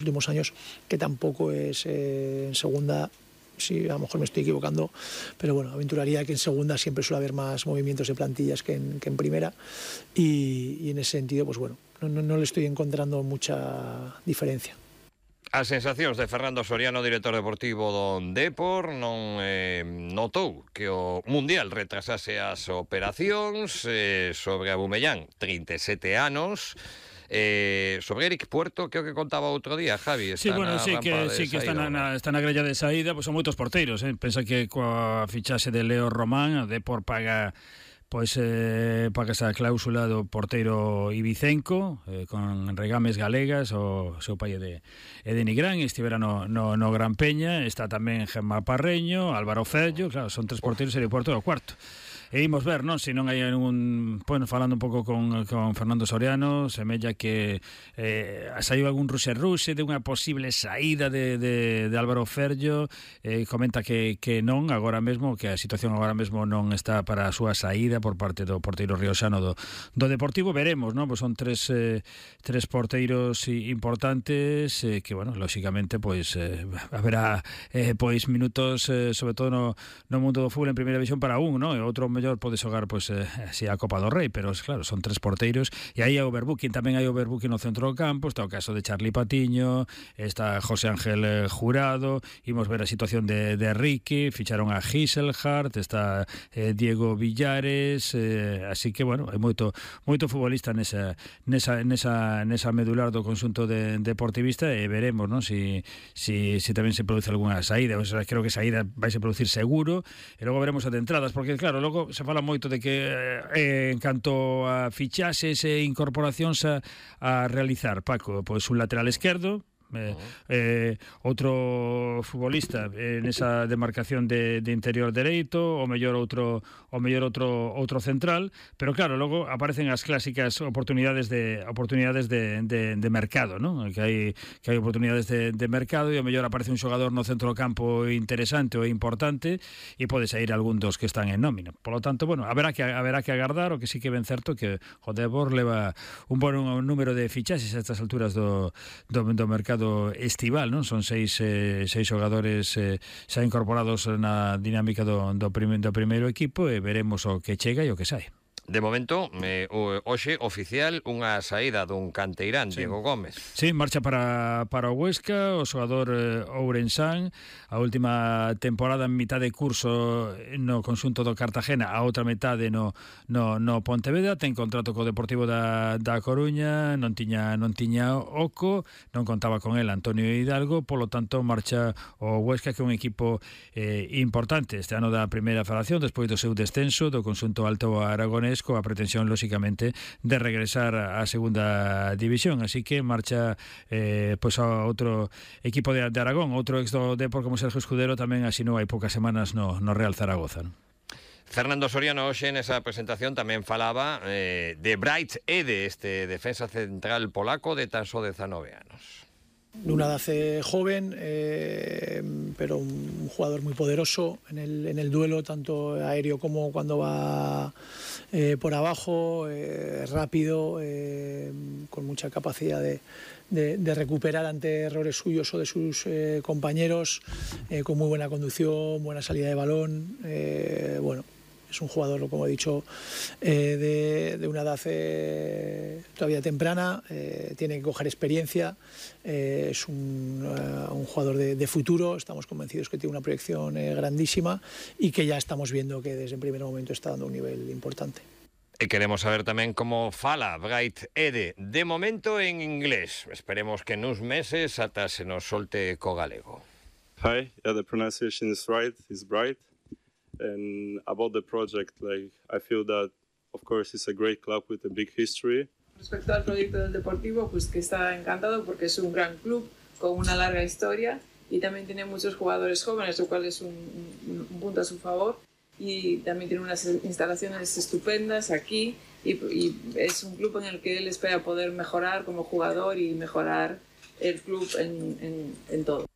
últimos años, que tampoco es en segunda. Sí, a lo mejor me estoy equivocando, pero bueno, aventuraría que en segunda siempre suele haber más movimientos de plantillas que en primera, y en ese sentido, pues bueno, no le estoy encontrando mucha diferencia. As sensacións de Fernando Soriano, director deportivo do Depor, non notou que o Mundial retrasase as operacións. Sobre Abumellán, 37 anos. Sobre Eric Puerto, que o que contaba outro día, Javi, está sí que está na grella de saída, pois son moitos porteiros, pensa que coa fichaxe de Leo Román, a Depor paga esa cláusula do porteiro Ibicenco, con regames galegas. O seu pai é de Nigrán, estivera no Gran Peña. Está tamén Gemma Parreño, Álvaro Fello. Claro, son tres porteiros e o Puerto é o cuarto. E imos ver, non? Se non hai falando un pouco con Fernando Soriano, semella que saiu algún ruxe de unha posible saída de Álvaro Ferllo. Comenta que non, agora mesmo, que a situación agora mesmo non está para a súa saída por parte do porteiro rioxano do Deportivo. Veremos, non? Pois son tres porteiros importantes, que, bueno, lóxicamente, pois haberá pois minutos, sobre todo no mundo do fútbol en primeira división para un, non? E outro mellor pode xogar así a Copa do Rei, pero claro, son tres porteiros, e aí hai overbooking, tamén hai overbooking no centro do campo. Está o caso de Charlie Patiño, está José Ángel Jurado, imos ver a situación de Ricky, ficharon a Giselhardt, está Diego Villares, así que, bueno, hai moito futbolista nesa medular do conxunto deportivista, e veremos, non? Si tamén se produce algunha saída. O sea, creo que saída vai se producir seguro, e logo veremos as entradas, porque claro, logo se fala moito de que en canto a fichaxes e incorporacións a realizar, Paco, pois un lateral esquerdo, outro futbolista nesa demarcación de interior dereito, o mellor outro central, pero claro, logo aparecen as clásicas oportunidades de mercado, non? Que hai oportunidades de mercado, e o mellor aparece un xogador no centro do campo interesante ou importante, e pode sair algún dos que están en nómina. Por lo tanto, bueno, haberá que agardar. O que sí que ben certo que o Depor leva un bon número de fichaxes a estas alturas do mercado estival, non? Son seis xogadores xa incorporados na dinámica do primeiro equipo, e veremos o que chega e o que sai. De momento, hoxe oficial unha saída dun canteirán, sí. Diego Gómez. Sí, marcha para o Huesca, o xogador ourensán. A última temporada en mitad de curso no conxunto do Cartagena, a outra metade no Pontevedra. Ten contrato co Deportivo da Coruña, non tiña oco, non contaba con el Antonio Hidalgo, polo tanto marcha o Huesca, que é un equipo importante este ano da primeira federación, despois do seu descenso do conxunto alto aragonés, coa pretensión, lóxicamente, de regresar á segunda división. Así que marcha pois a outro equipo de Aragón, outro ex do Depor como Sergio Escudero, tamén asinou hai poucas semanas no Real Zaragoza, non? Fernando Soriano hoxe nesa presentación tamén falaba de Bright Ede, este defensa central polaco de tan só 19 anos. De una edad joven, pero un jugador muy poderoso en el duelo, tanto aéreo como cuando va por abajo, rápido, con mucha capacidad de recuperar ante errores suyos o de sus compañeros, con muy buena conducción, buena salida de balón. Bueno, es un jugador, como he dicho, de una edad todavía temprana, tiene que coger experiencia, es un jugador de futuro. Estamos convencidos que tiene una proyección grandísima, y que ya estamos viendo que desde el primer momento está dando un nivel importante. E queremos saber tamén como fala Bright Ede, de momento en inglés. Esperemos que nuns meses ata se nos solte co galego. Hi, yeah, the pronunciation is right, it's Bright. And about the project, I feel that, of course, it's a great club with a big history. Respecto al proyecto del Deportivo, pues que está encantado porque es un gran club con una larga historia, y también tiene muchos jugadores jóvenes, lo cual es un punto a su favor, y también tiene unas instalaciones estupendas aquí, y es un club en el que él espera poder mejorar como jugador y mejorar el club en todo.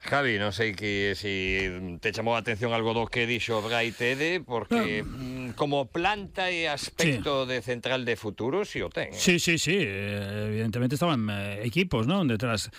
Javi, non sei que si te chamou a atención algo do que dixo Bright Ede, porque como planta e aspecto de central de futuro, si o ten. Sí, evidentemente estaban equipos, ¿no?, detrás